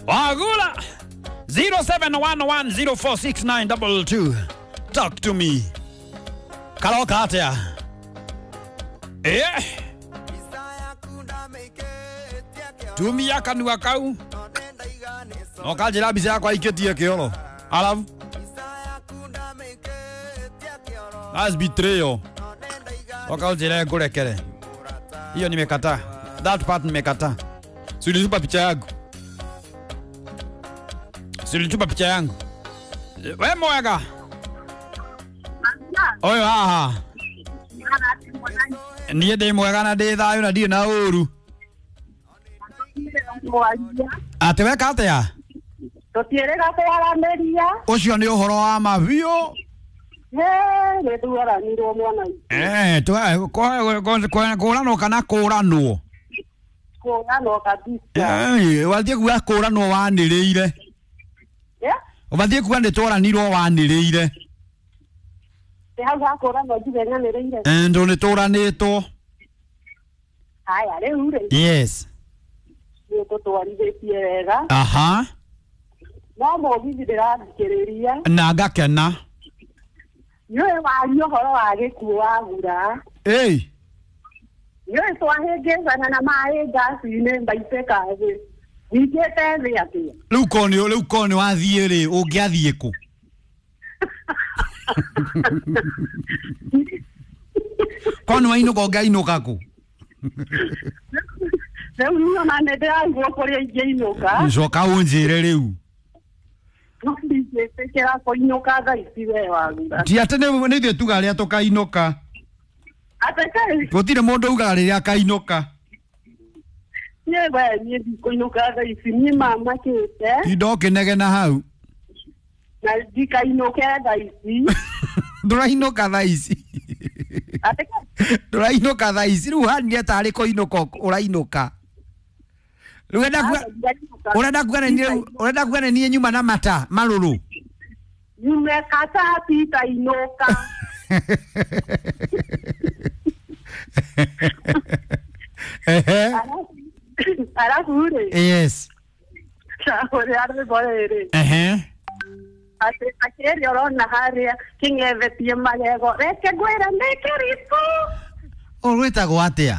Wagula 0711046922. Talk to me. Karoka atia? Eh? Tumia kanua kau. No kanjĩra mbica yakwa ikĩtie kĩoro. Alafu that's betrayal. Oka ũnjĩre ngũrekere. Hiyo nimekataa. That part nimekataa. Si ulitupa picha yangu. Si ulitupa picha yangu. We mwega. Oyo haha. Niĩ ndĩ mwega na ndĩ thayũ na ndirĩ na ũru. Atĩ weka atĩa? Tũtiĩrĩga kwaranĩria. Ũcio nĩ ũhoro wa ma biũ. Nĩ twaranirwo mwana. Eh, kũranwo kana kũranwo? Kũranwo kabisa. Eh, wathiĩ kuga kũranwo wanĩrĩire. Ũbathiĩ kuga nĩ twaranirwo wanĩrĩire. Nĩ hau ha kũranwo njuge nyanĩrĩire. Ndũ nĩ tũranĩtwo. Haya rĩu rĩ. Yes. Nĩ tũtwarithĩtie wega. Aha. No mũgithi ndĩrathikĩrĩria. Na ngakena. Nĩũĩ waria ũhoro wa gĩkuũ wagura. Ĩĩ. Nĩũĩ twahĩngĩcana na maĩ ngaci-inĩ mbaitĩka thĩ. Nyingĩte thĩ atĩa? Rĩu korwo nĩ rĩu korwo nĩ wathiĩ rĩ, ũngĩathiĩ kũ? Korwo nĩ wainũka ũngĩainũka kũ? Rĩu niĩ ona nĩ ndĩraigua kũrĩa ingĩinũka. Coka ũnjĩre rĩu. No ndingĩtĩkĩra kũinũka thaa ici we wagura. Ti atĩ nĩ ithuĩ tugaga rĩrĩa tũkainũka. Atĩ kĩ? Gũtirĩ mũndũ ugaga rĩrĩa akainũka. Niĩ we niĩ ndikũinũka thaa ici, niĩ mamakĩte. Tinda ũkĩnegena hau. Na ndikainũke thaa ici. Ndũrainũka thaa ici. Atĩ kĩ? Ndũrainũka thaa ici. Rĩu ũhanire tarĩ kũinũka ũrainũka. Rĩu ũrenda kuga nĩ ũrenda kuga nĩ niĩ nyuma na mata marũrũ. Nyume kata titainũka. Ehe. Arabu rĩ. Yes. Ũrĩa rwĩmbo rĩrĩ. Ehe. Atĩ akĩrĩa ũrona harĩa kĩng'ethetie magego. Reke ngwĩre nĩ kĩritũ. Rwĩtagwo atĩa?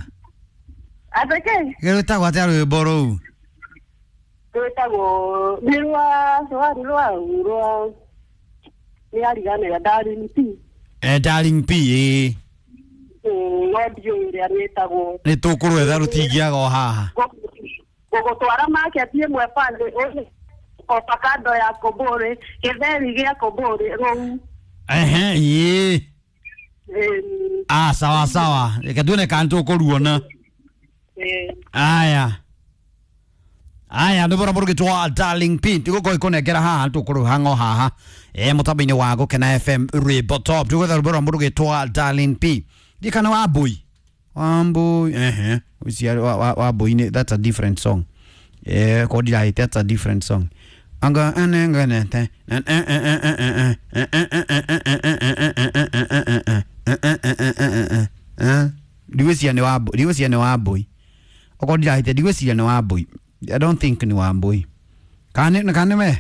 Atĩ kĩ? Rwĩtagwo atĩa rwĩmbo rũu? Rwĩtagwo nĩ rwa rwa rwa rwa nĩ ariganĩra Darling P. Darling P, ĩĩ. No ndiũĩ ũrĩa rwĩtagwo. Nĩ tũkũrwetha rũtingĩaga o haha. Gũgũtwara market ĩmwe pale avocado ya kũmbũrĩ, gĩtheri gĩa kũmbũrĩ rũu. Ehe, ĩĩ. Ah, sawa sawa. Reke tuone kana tũkũruona. Aya. Aya, nĩ bora mũrugĩtwo Darling P. Tũgũkorwo ikũnengera haha tũkũrũhang'o haha. Mũtambo-inĩ wa Gũkena FM Rwĩmbo Top. Tũgwetha rwĩmbo rwa mũrugĩtwo Darling P. Ndikana Wambui. Wambui, ehe. Ũcio Wambui nĩ that's a different song. Ko ndirahĩte that's a different song. Anga anengenete. Ndigwĩciria nĩ Wambui, ndigwĩciria nĩ Wambui. Okorwo ndirahĩte ndigwĩciria nĩ Wambui. I don't think ni Wambui. Kana nĩ we?